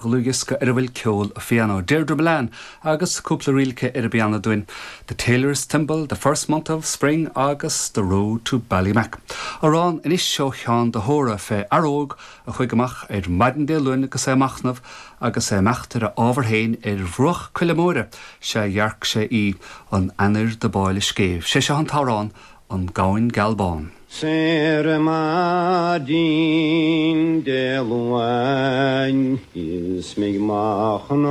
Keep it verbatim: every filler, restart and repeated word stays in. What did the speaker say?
Dlúthdhiosca ar a bhfuil ceol a phianó Deirdre Mullane agus cúpla ríl aici ar an bpianó dúinn. The Tailor's Thimble, The First Month of Spring agus The Road to Ballymac. Amhrán anois ó Sheán de hÓra fé fhear óg a chuaigh amach ar maidin Dé Luain agus é ag machnamh agus é ag imeacht ar a ábhar féin ar bhruach coille móire sé dhearc sé í an ainnir do b'áille scéimh. Sé seo an t-amhrán an Gamhain Geal Bán. Saor maidin Dé Luain is mé ag machnamh